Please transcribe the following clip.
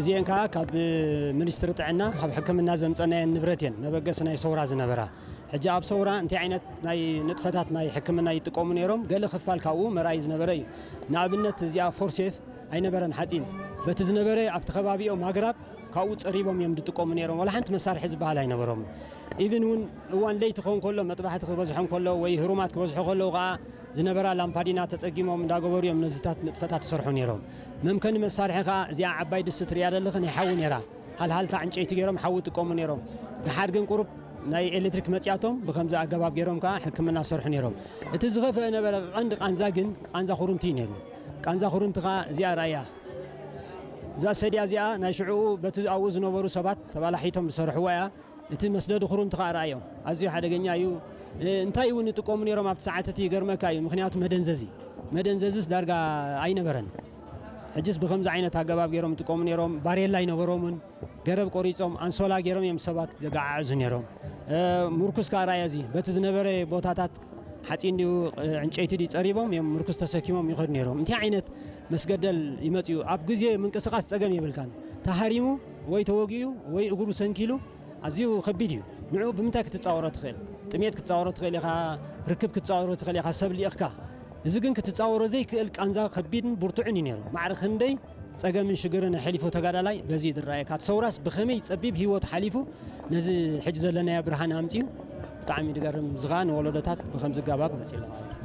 እዚአን ከዓ ካብ ሚኒስትሪ ጥዕና ካብ ሕክምና ዘምፀናየን ንብረት እየን፣ መበገሲ ናይ ሰውራ ዝነበራ። ሕጂ ኣብ ሰውራ እንታይ ዓይነት ናይ ንጥፈታት ናይ ሕክምና ይጥቀሙ ነይሮም? ገለ ክፋል ካብኡ መርኣይ ዝነበረ እዩ። ንኣብነት እዚኣ ፎርሴፍ ኣይነበረን ሓፂን፣ በቲ ዝነበረ ኣብቲ ከባቢኦም ኣግራብ ካብኡ ፀሪቦም እዮም ዝጥቀሙ ነይሮም። ዋላ ሓንቲ መሳርሒ ዝበሃል ኣይነበሮምን። ኢቭን እውን እዋን ለይቲ ክኸውን ከሎ፣ መጥባሕቲ ክበዝሖም ከሎ ወይ ህሩማት ክበዝሑ ከለዉ ከዓ ዝነበራ ላምፓዲና ተፀጊሞም እንዳገበሩ እዮም ነዚታት ንጥፈታት ዝሰርሑ ነይሮም። መምከኒ መሳርሒ ከዓ እዚኣ ዓባይ ድስቲ ትሪያ ዘለኺ ናይ ሓዊ ነይራ። ሃልሃልታ ዕንጨይቲ ገይሮም ሓዊ ይጥቀሙ ነይሮም። ደሓር ግን ቁሩብ ናይ ኤሌክትሪክ መፅያቶም ብከምዚ ኣገባብ ገይሮም ከዓ ሕክምና ሰርሑ ነይሮም። እቲ ዝኸፍአ ነበረ ቀንዲ ቃንዛ ግን ቃንዛ ኩርምቲ እዩ ነይሩ። ቃንዛ ኩርምቲ ከዓ እዚኣ ራእያ። እዛ ሰድያ እዚኣ ናይ ሽዕኡ በቲ ኣብኡ ዝነበሩ ሰባት ተባላሒቶም ዝሰርሕዋ እያ። እቲ መስደዲ ኩርምቲ ከዓ ራእዮ። ኣዝዩ ሓደገኛ እዩ። እ፣ እንታይ እውን ይጥቀሙ ነይሮም ኣብቲ ሰዓት እቲ ይገርመካ እዩ። ምክንያቱ መደንዘዚ። መደንዘዝስ ዳርጋ ኣይነበረን። ሕጅስ ብከምዚ ዓይነት ኣገባብ ገይሮም ይጥቀሙ ነይሮም። ባሬላ ኣይነበሮምን። ገረብ ቆሪጾም ኣንሶላ ገይሮም እዮም ሰባት ዘገዓዕዙ ነይሮም። እ፣ ምርኩስ ከዓ ራእዮ እዚ። በቲ ዝነበረ ቦታታት ሓፂን ድዩ፣ እ፣ ዕንጨይቲ ድዩ ጸሪቦም እዮም ምርኩስ ተሰኪሞም ይኸዱ ነይሮም። እንታይ ዓይነት መስገደል ይመጽኡ? ኣብ ግዜ ምንቅስቃስ ጸገም የብልካን። ተሃሪሙ ወይ ተወጊኡ ወይ እግሩ ሰንኪሉ ኣዝዩ ከቢድ እዩ። ንዕኡ ብምንታይ ክትጻወሮ ትኽእል? ጥሜት ክትጻወሮ ትኽእል ኢኻ፣ ርክብ ክትጻወሮ ትኽእል ኢኻ፣ ሰብ ልኢኽካ። እዚ ግን ክትጻወሮ ዘይክእል ቃንዛ ከቢድን ብርቱዕን እዩ ነይሩ። ማዕረ ክንደይ ጸገምን ሽግርን ኣሕሊፉ ተጋዳላይ በዚ እዩ ዝረኣየካ። እቲ ሰውራስ ብኸመይ ጸቢብ ህይወት ሓሊፉ ነዚ ሕጂ ዘለናዮ ብርሃን ኣምጺኡ፣ ብጣዕሚ ድገርም። እዚ ኸኣ ንወለዶታት ብኸምዚ ኣገባብ መጺኡ ኣሎ ማለት እዩ።